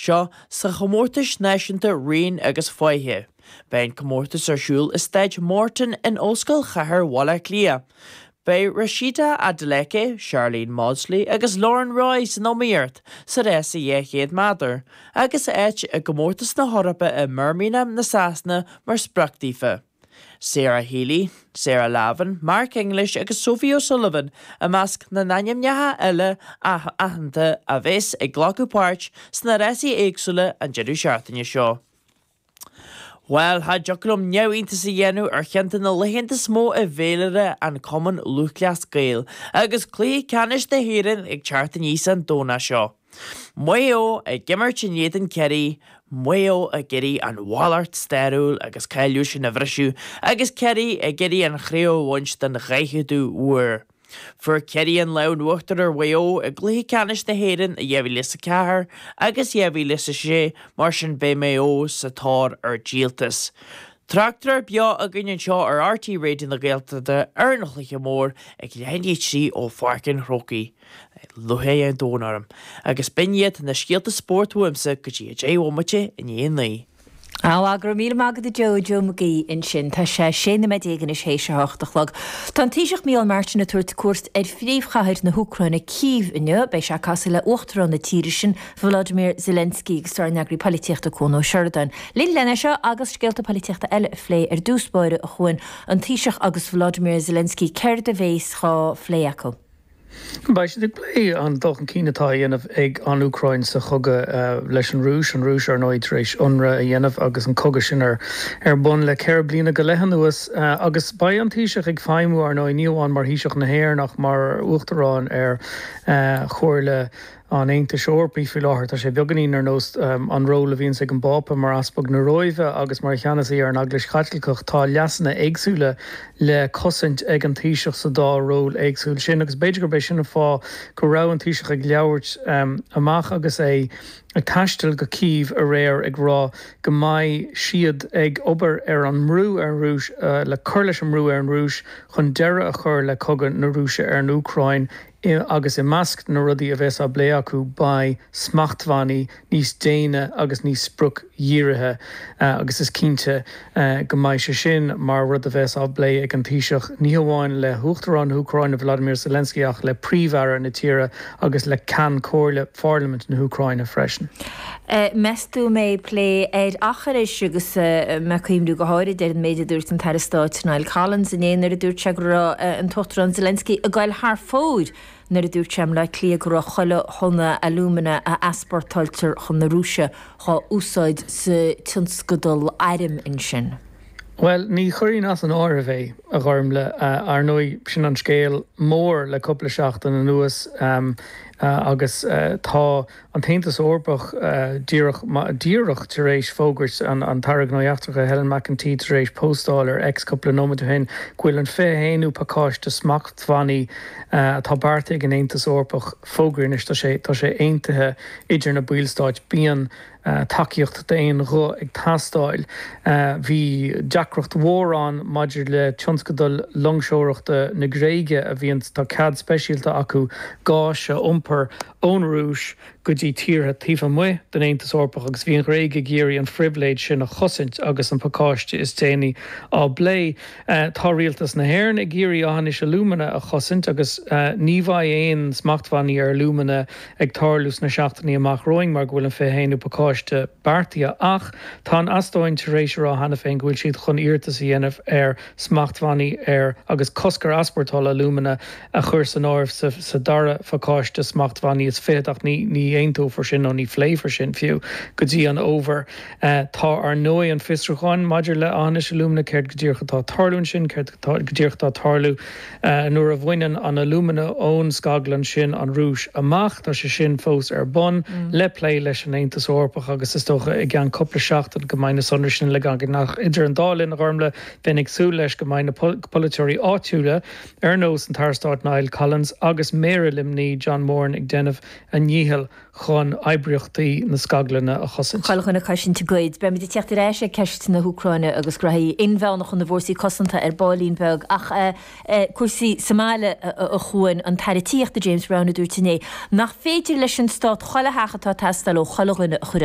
seo sa chomórtais náisiúnta Raon agus Faiche. Beidh an comórtas ar siúl i Staid Morton in Ollscoil Chathair Bhaile Átha Cliath. Beidh Rhasidat Adeleke, Sharlene Mawdsley agus Lauren Roy san iomaíocht sa rása 200 méadar, agus áit i gcomórtas na hEorpa i mBirmingham na Sasana mar sprioc daofa. Sarah Healy, Sarah Lavin, Mark English agus Sophie O'Sullivan i measc na n-ainmneacha eile aitheanta a bheas ag glacadh páirt sna rásaí éagsúla an deireadh seachtaine seo. Bhuel, cha dtiocfadh liom neamhiontas a dhéanamh ar cheann de na laethanta is mó i bhféilire an Chumainn Lúthchleas Gael agus Cluiche Ceannais na hÉireann ag teacht aníos an Domhnach seo. Maigh Eo ag imirt in éadan Ciarraí, Maigh Eo ag iarraidh an mhallacht stairiúil agus cáiliúil sin a bhriseadh agus Ciarraí ag iarraidh an chraobh a bhaint den dhaicheadú huair. Fuair Ciarraí an lámh in uachtar ar Mhaigh Eo i gcluiche ceannais na hÉireann i 2004 agus 2006, mar sin beidh Maigh Eo sa tóir ar dhíoltas. Tráchtaireacht beo againn anseo ar RTÉ Raidió na Gaeltachta ar an chluiche mór ag leath i ndiaidh 3 ó Pháirc an Chrócaigh. Lúcháir an domhain orm. Agus b'in iad na scéalta spóirt uaimse go dtí 10 bhomaite i ndiaidh 9. Á, go raibh míle maith agat a Joe, Joe Mac Aoidh ansin. Tá sé 16 nóiméad anois théis a hocht a chlog. Tá an Taoiseach Micheál Martin ag tabhairt cuairt ar phríomhchathair na hÚcráine, Cív, inniu. Beidh sé ag casadh le Uachtarán na tíre sin, Volodymyr Zelensky, agus tá ár n-eagraí polaitíochta Cuan Ó Seireadáin linn len é seo agus scéalta polaitíochta eile a phlé. Ar dtús báire, a Chuain, an Taoiseach agus Volodymyr Zelensky, céard a bhéas dhá phlé acu? Beidh siad ag plé an dul chun cinn atá á dhéanamh ag an Úcráin sa chogadh leis an Rúis, an Rúis, ar ndóigh, tar éis ionradh a dhéanamh agus an cogadh sin ar bun le 4 bliana go leith anuas. Agus beidh an Taoiseach ag feidhmiú, ar ndóigh, ní hamháin mar Thaoiseach na hÉireann ach mar Uachtarán ar Chomhairle an Aontais Eorpaigh faoi láthair. Tá sé beagáinín ar nós an ról a bhíonns ag an bPápa mar Easpag na Róimhe agus mar cheannasaí ar an Eaglais Chaitliceach. Tá leasanna éagsúla le cosaint ag an Taoiseach sa dá ról éagsúil sin agus b'fhéidir gurb é sin an fáth go raibh an Taoiseach ag labhairt amach agus é ag taisteal go Cív aréir ag rá go mbeidh siad ag obair ar an mbrú ar an Rúis le cur leis an mbrú ar an Rúis chun deireadh a chur le cogadh na Rúise ar an Úcráin agus i measc na rudaí a bheas á bplé acu beidh smachtbhannaí níos déine agus níos spriocdhírithe agus is cinnte go mbeidh sé sin mar rud a bheas á bplé ag an Taoiseach ní hamháin le hUachtarán na hÚcráine Volodymyr Zelensky ach le Príomh-Aire na tíre agus le Ceann Comhairle Pharlaimint na hÚcráine freisin. Meas tú an mbeidh plé ar Aughinish agus mé ag cuimhniú go háirid ar an méid a dúirt an tAire Stáit Niall Collins inné nuair a dúirt sé go raibh an tUachtarán Zelensky ag goil thar fóir nuair a dúirt sé i mBleá Cliath go raibh chuile thonna alúmana a easpórtáiltear chun na Rúise dhá úsáid sa tionscadal airm ansin. Bhuel, ní chuirfinn as an áireamh é, a Ghormfhlaith. Ar ndóigh, sin an scéal mór le cúpla seachtain anuas agus tá an tAontas Eorpach díreach díreach tar éis fógairt, an tAire Gnóthaí Eachtracha Helen McEntee tar éis póstáil ar X cúpla nóiméad ó shin go bhfuil an 21ú pacáiste smachtbhannaí atá beartaithe ag an Aontas Eorpach fógraithe anois. Tá sé tá sé aontaithe idir na ballstáit. Bíonn tacaíocht d'aon ghuth ag teastáil. Bhí deacracht mhór ann maidir le tionscadal loingseoireachta na Gréige a bhíonn tá cead speisialta acu gás a iompar ón Rúis go dtí tíortha taobh amuigh den Aontas Eorpach agus bhí an Ghréig ag iarraidh an phribhléid sin a chosaint agus an pacáiste is déanaí á bplé. Tá Rialtas na hÉireann ag iarraidh Aughinish Alumina a chosaint agus ní bheidh aon smachtbhannaí ar alúmana ag tarlú sna seachtainí amach romhainn mar go bhfuil an 21ú pacáiste beartaithe ach tá an Eastóin tar éis a rá cheana féin go bhfuil siad chun iarratas a dhéanamh ar smachtbhannaí ar agus cosc ar easpórtáil alúmana a chur san áireamh sa dara phacáiste smachtbhannaí is fichead ach ní aontófar sin nó ní phléifear sin fiú go dtí an fhómhar. Tá ar ndóigh an fiosrúchán maidir le Aughinish Alumina, céard go díreach atá ag tarlú ansin, céard go díreach atá ag tarlú nuair a bhaineann an alúmana ón scaglann sin an Rúis amach, tá sé sin fós ar bun le plé leis an Aontas Eorpach agus is dócha i gceann cúpla seachtain go mbeidh na sonraí sin uilig againn. Ach idir an dá linn, a Ghormfhlaith, bheinn ag súil leis go mbeidh na polaiteoirí áitiúla, ar nós an tAire Stáit Niall Collins agus Méara Luimnigh John Moran ag déanamh a ndícheall chun oibríochtaí na scaglainne a chosaint. Chuile dhuine ag cosaint a gcuid. Beimid ag teacht ar ais ag ceist na hÚcráine agus graithí inmheánacha na bhfórsaí cosanta ar baillín beag ach cúrsaí sa mbaile a Chuain, an tAire Tithíochta James Browne a dúirt inné nach féidir leis an stát chuile theach atá ag teastáil ó chuile dhuine a chur.